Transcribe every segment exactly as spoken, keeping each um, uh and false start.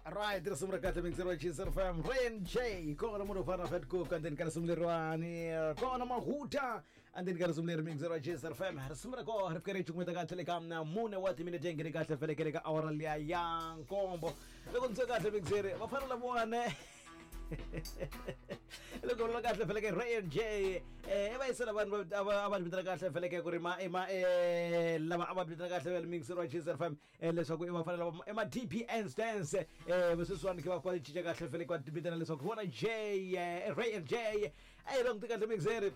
Right, risimu ra kahle mixer wa Chiefs F M Rain J kona munhu fana Fat Cook and then ka risimu leriwani kona Mahuta and then ka risimu leri mixer wa Chiefs F M risimu ra kona ri fika ri cukumeta kahle le ka mna mune wa timinete ngene kahle felekele ka awara liya ya nkombo loko ndzi kahle mixer va fana lavone loko la kahle feleke Rain J eh va yisela vanhu a va vitana kahle feleke ku ri ma ma eh lava a va vitana kahle vele mixer wa Chiefs F M leswaku i va fanele va ema D P N stands eh sweswiwani ke va kwa cinca kahle feleke va vitana leswaku vona J Rain J ai loko kahle mixer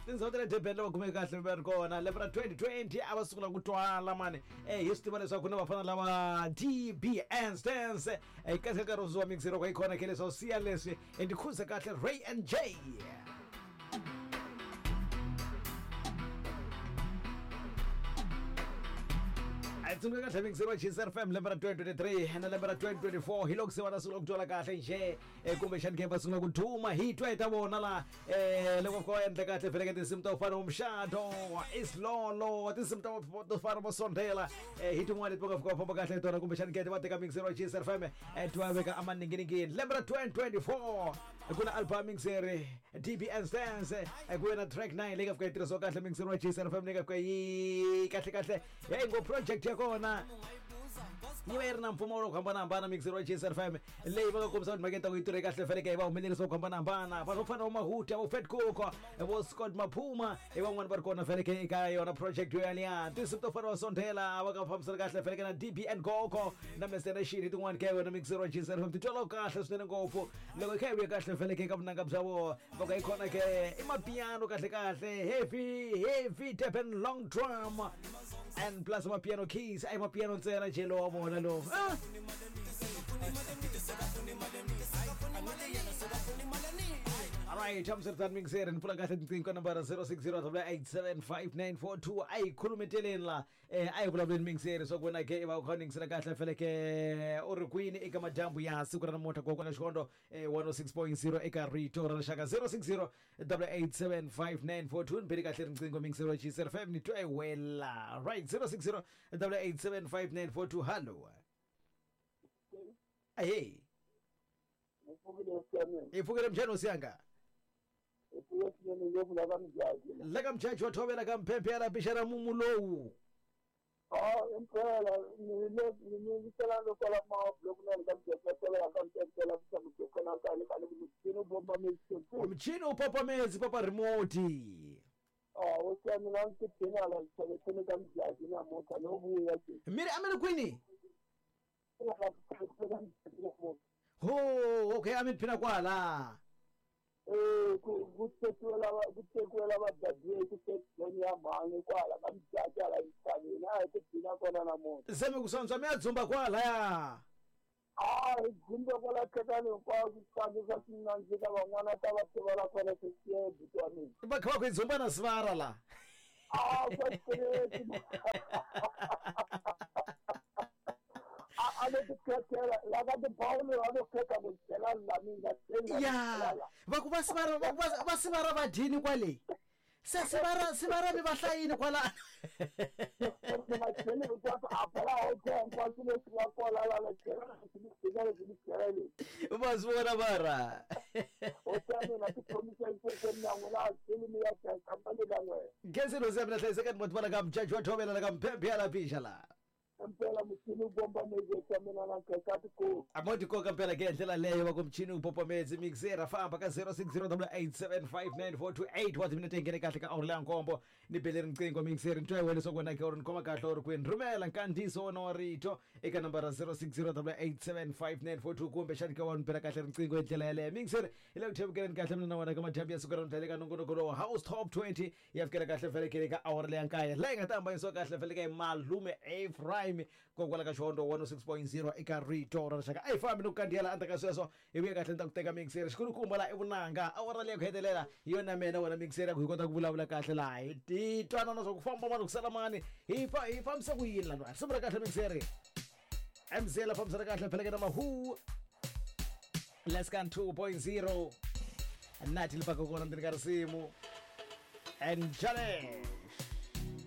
tindhawu ta le Durban lava kumeke kahle va ri kona lembe ra twenty twenty a va sungula ku twala mani eh hi swi tiva leswaku na vafana lava D B N stands eh kahle ka rozuwa mixer kwa ikona ke leswaku siya leswi and khuza kahle Ray and J. Tsundzuka kahle mixer wa Chiefs F M lembe ra twenty twenty-three na lembe ra twenty twenty-four hi loko se va ta sungula ku twala kahle nje kumbexani ke va sungula ku duma hi twa hi ta vona la eh loko ko endla kahle feleke tinsimu ta ku fana umshado isilolo tinsimu ta to fana vo sondela hi tin'wana leti va nga fika va famba kahle hi tona kumbexani ke va teka mixer wa Chiefs F M twa veka amaninginingini lembe ra twenty twenty-four ku na album mixer D B N stands ku na track nine leyi nga fika yi tirhisiwa kahle mixer wa Chiefs F M leyi nga fika yi kahle kahle ya ngo project ya kona yi va yi ri na mpfumawulo ku hambanahambana mixer wa Chiefs F M leyi va nga kombisa timhakeni ta ku yi tirhe kahle feleke hi va humelerisa ku hambanahambana vanhu vo fana vo Mahuta vo Fat Cook vo Scott Maphuma hi van'wani va ri kona feleke eka yona project yo yaliya tinsimu to fana va Sondela va nga fambisana kahle feleke na D B N Gogo na Mister Nation hi tin'wani ka yona mixer wa Chiefs F M ti twala kahle swinene ngopfu loko hi kha hi vuya kahle feleke eka vunanga bya vona va ka yi kona ke i mapiano kahle kahle heavy heavy Durban long drum and plus mapiano keys ai mapiano ntsena nje lowa vona lowo ah Alright, I'm Sir Mixer and pula kahle tinqingho number zero six zero eight seven five nine four two ai khulumeteleni la eh ai vulavuleni mixer swa ku wena ke va kha ningisela kahle feleke u ri kwini eka madyambu ya siku ra namuntlha kokwana Xikondo one oh six point zero eka Rito ra Rixaka zero six zero eight seven five nine four two ni kahle riqingho mixer wa Chiefs F M ni twa wela right zero six zero eight seven five nine four two hello hey ipfukile mjani usiyanga laka mjaji wa thovela ka mphephe ya lapixana mumu lowu ah impela ni le ni vitela loko la ma block na ka mjaji wa ka mphephe la ka na ka ka mchini bomba mezi mchini upapa mezi papa remote ah o na ntiphina la tsene ka mjaji na mota no vuya miri amele kwini ho okay amele phina kwala eh ku kutekiwela kutekiwela vadadwe ku tekweni ya mhani kwala ka mjaji ala yitsani na ku phina kona na mota seme kusanzwa mi ya dzumba kwala ya ah dzumba kwala khekani hinkwaswo swi swa swi nandzika van'wana ta va tiva kona swisiye buti wa mina va kha va ku yi dzumba na sivara la ah swa tirheti a le tikhethela la ka tibawulo va lo khetha ku byela la mina ya va ku va sivara va va sivara va dyini kwale se sivara sivara mi va hlayini kwala va swi vona vara gezi lo zebra hlayiseka ni motibala ka mjaji wa thovela la ka mphephe ya lapisha la mpela mchini ubomba mezi kamina na nkakati ko amoti koka mpela ke ndlela leyo va ku mchini upopa mezi mixer famba ka zero six zero eight seven five nine four two eight wa timinete ngene kahle ka awuri nkombo ni bele riqingho mixer ntwa wena swa kona ke uri nikhoma kahle uri kwini rhumela nkandziso wona wa rito eka nambara zero six zero eight seven five nine four two kumbe xani ka wa mpela kahle riqingho hi ndlela yaleyo mixer hi le ku thevukeleni kahle mina na wena ka madyambu ya siku ra namuntlha le ka nongonoko lowu House Top twenty ya fikela kahle felekele ka awuri leya nkaya leyi nga ta hambanyisiwa kahle feleke hi malume Ephraim kokwala ka Xikondo one oh six point zero eka Rito ra Rixaka a yi fambi ni ku kandziyela endzhaku ka sweswo hi vuya kahle ni ta ku teka mixer xikulukumba la i vunanga awara leyi ku hetelela hi yona mina wena mixer ya ku hi kota ku vulavula kahle laha hi ti twanana swa ku famba mani ku sala mani hi fa hi fambisa ku yini laniwa risimu ra kahle mixer M Z la fambisana kahle pheleke na Mahu Lescan two point zero nati lipaka kona ndzeni ka risimu and jale.